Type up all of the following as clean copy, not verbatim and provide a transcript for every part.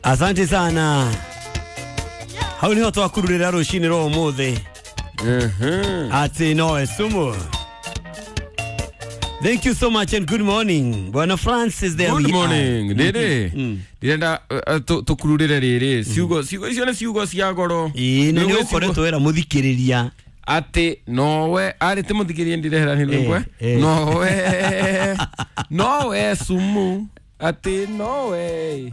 Asante sana. Hau niho twakururira rucini rwa umuthi ati nowe sumu. Thank you so much and good morning. Bwana Francis, there Good we morning. are. Rĩrĩ ndĩrenda tũkururĩre rĩrĩ ciugo icio nĩ ciugo cia goro. Ĩĩ, na Nĩ nĩ ũĩ ũkoretwo ciugo- wĩra mũthikĩrĩria. atĩ nowe arĩ ti mũthikĩrĩrie ndirehera nĩ rwĩmbo. Eh, eh. Nowe nowe sumu atĩ nowe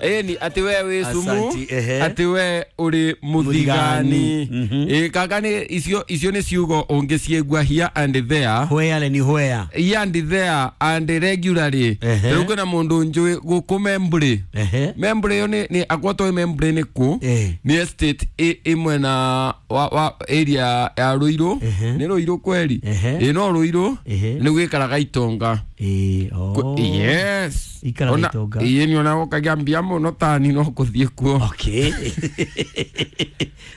ĩni atĩ we wĩ sumu. Asanti, ehe. Atĩ we ũrĩ mũthigani. Mũthigani, mhm. Ĩ kaka nĩ icio nĩ ciugo ũngĩciĩgua here and there. Where ni where? Here and there and regularly. Ehe. Rĩu kwĩna mũndũ njũĩ gũkũ Membley. Ehe. Membley ĩyo nĩ akwatwo Membley nĩ kũ? Eh. Nĩ estate ĩ mwena wa area ya Ruiru. Ehe. Nĩ Ruiru kweri? Ehe. Ĩ no Ruiru. Ehe. Nĩ gwĩkaraga itonga. Ĩĩ, oh. Yes. Ikaraga itonga. Ĩĩ nĩ ona ũkagĩa mbia mũno tani no kũthiĩ kuo. Okay.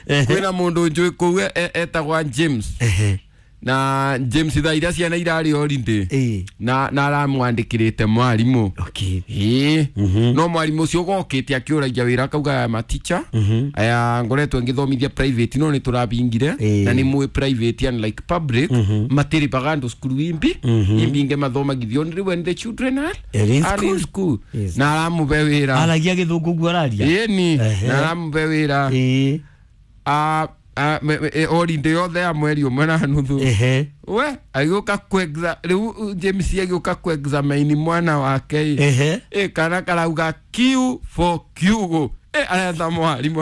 Ehe. Kwĩna mũndũ njũĩ kũu etagwa James. Ehe. Na James thaa iria ciana irarĩ holiday. Ĩĩ. Na aramwandĩkĩrĩte mwarimũ. Okay. Ĩĩ no mwarimũ ũcio gokĩte akĩũragia wĩra akauga aya maticha aya ngoretwo ngĩthomithia private no nĩ tũrabingire. Ĩĩ. Na nĩ mũĩ private unlike public matiribaga andũ cukuru imbi imbinge mathomagithio only when the children are Are in are in school. school. Yes. Na aramũbe wĩra. Aragia gĩthũngũ guo araria. Ĩni Ehe. na aramũbe wĩra. Ĩĩ. Holiday yothe ya mweri ũmwe na nuthu. Ehe. We agĩũka rĩu James agĩũka kuexamine mwana wake ĩ. Ehe. Ĩ kana karauga Q for kiugo. Ĩ aretha mwarimũ.